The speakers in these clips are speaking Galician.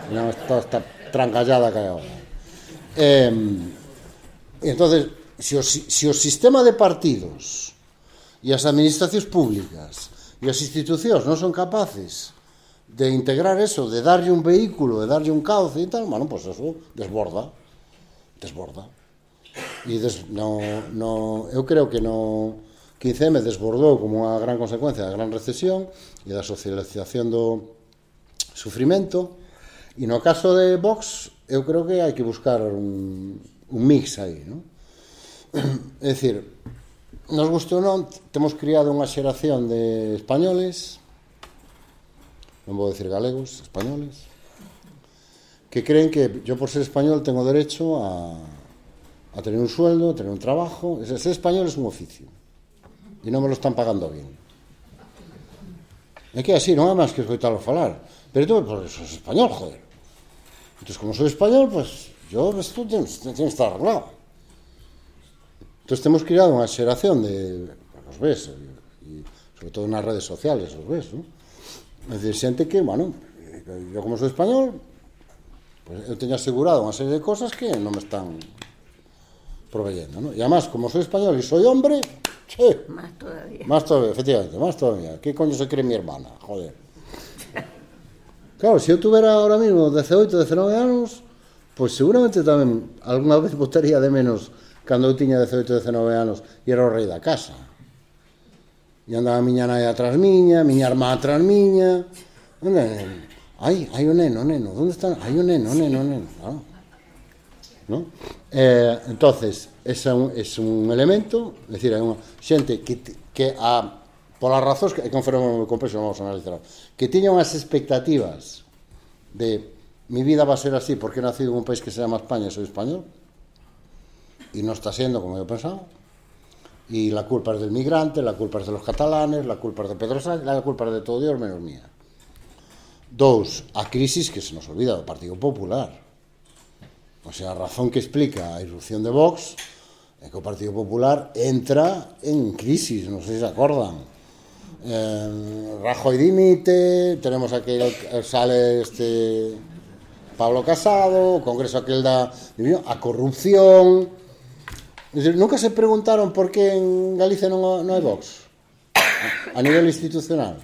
Non toda esta trancallada que hai agora. Entonces, se o sistema de partidos e as administracións públicas e as institucións non son capaces de integrar eso, de darlle un vehículo, de darlle un cauce e tal, bueno, pues eso desborda. E eu creo que no 15M desbordou como unha gran consecuencia da gran recesión e da socialización do sufrimento, e no caso de Vox eu creo que hai que buscar un mix aí, non? É dicir, nos gustou ou non, temos criado unha xeración de españoles, non vou dicir galegos, españoles, que creen que yo por ser español tengo derecho a tener un sueldo, a tener un trabajo. Ser español es un oficio e non me lo están pagando bien. É que así, non é máis que escoitalo falar. Pero tú, pues, sos español, joder. Entonces, como soy español, pues yo, esto tiene que estar arreglado. Entonces, hemos creado unha xeración de, os ves, e sobre todo nas redes sociales, os ves, ¿no? É dicir, xente que, bueno, yo como soy español, pues eu teño asegurado unha serie de cosas que non me están proveyendo, ¿no? Y además, como soy español y soy hombre, sí, más todavía, efectivamente, más todavía. ¿Qué coño se cree mi hermana? Joder. Claro, se eu tuvera ahora mismo 18, 19 anos, pues seguramente tamén alguna vez votaría de menos cando eu tiña 18, 19 anos e era o rei da casa. E andaba a miña nai atrás miña irmá atrás miña. Ai, o neno, onde está? Ai, o neno. Claro. ¿No? Entonces, ese é un elemento, é dicir, hai unha xente que polas razóns que é un fenómeno moi complexo, non vamos a analizar, que tiña unhas expectativas de mi vida va a ser así porque he nacido en un país que se llama España e soy español, y no está siendo como yo pensaba, y la culpa es del migrante, la culpa es de los catalanes, la culpa es de Pedro Sánchez, la culpa es de todo Dios menos mía. Dos, a crisis que se nos olvida do Partido Popular. O sea, a razón que explica a irrupción de Vox é que o Partido Popular entra en crisis, non sei se acordan. Rajoy dimite, tenemos aquel, sale Pablo Casado, o Congreso aquel a corrupción. Es decir, nunca se preguntaron por que en Galicia non hai Vox a nivel institucional.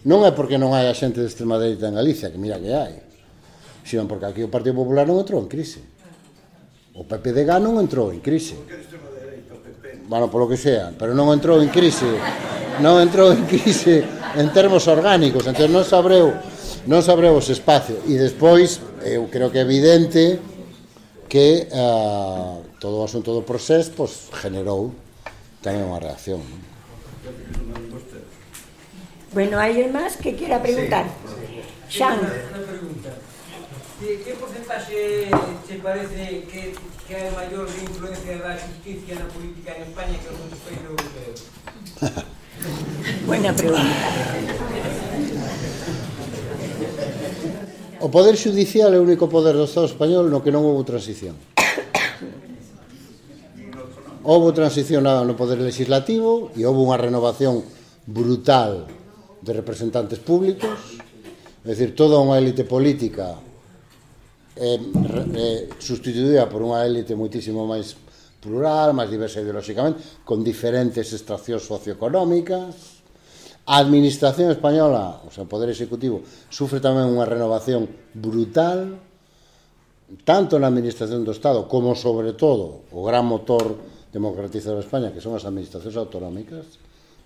Non é porque non hai a xente de extrema dereita en Galicia, que mira que hai, sino porque aquí o Partido Popular non entrou en crise. O PPDG non entrou en crise. Bueno, polo que sea, pero non entrou en crise. Non entrou en crise en termos orgánicos, entón non sabreu os espacios. E despois, eu creo que é evidente que todo o asunto do procés pues, generou tamén unha reacción. Bueno, hai máis que quera preguntar. Xan. Que porcentaxe te parece que hai maior influencia da justicia na política en España que nos países europeos? Buena pregunta. O poder judicial é o único poder do Estado español no que non houve transición. Houve transición no poder legislativo e houve unha renovación brutal de representantes públicos, é dicir, toda unha élite política sustituída por unha élite moitísimo máis plural, máis diversa ideolóxicamente, con diferentes extraccións socioeconómicas. A administración española, o sea, o poder executivo, sufre tamén unha renovación brutal, tanto na administración do Estado como, sobre todo, o gran motor democratizador de España, que son as administracións autonómicas,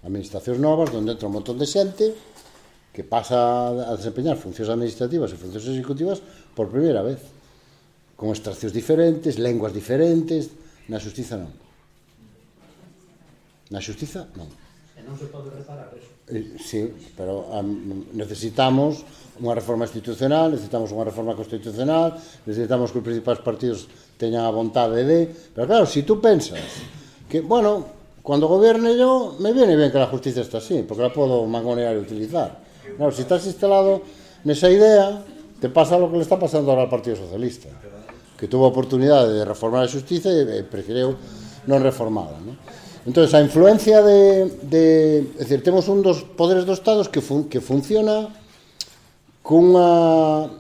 administracións novas, onde entra un montón de xente que pasa a desempeñar funcións administrativas e funcións executivas por primeira vez, con extraccións diferentes, lenguas diferentes. Na xustiza non. Na xustiza non. E non se pode reparar eso. Sí, pero necesitamos unha reforma institucional, necesitamos unha reforma constitucional, necesitamos que os principais partidos teñan a vontade de... Pero claro, si tú pensas que, bueno, cuando gobierne yo, me viene bien que la justicia esté así, porque la puedo mangonear y utilizar. Claro, si estás instalado nesa idea, te pasa lo que le está pasando ahora al Partido Socialista, que tuvo oportunidade de reformar a xustiza e preferiu non reformala, ¿no? Entón, a influencia é dicir, temos un dos poderes do Estado que funciona cunha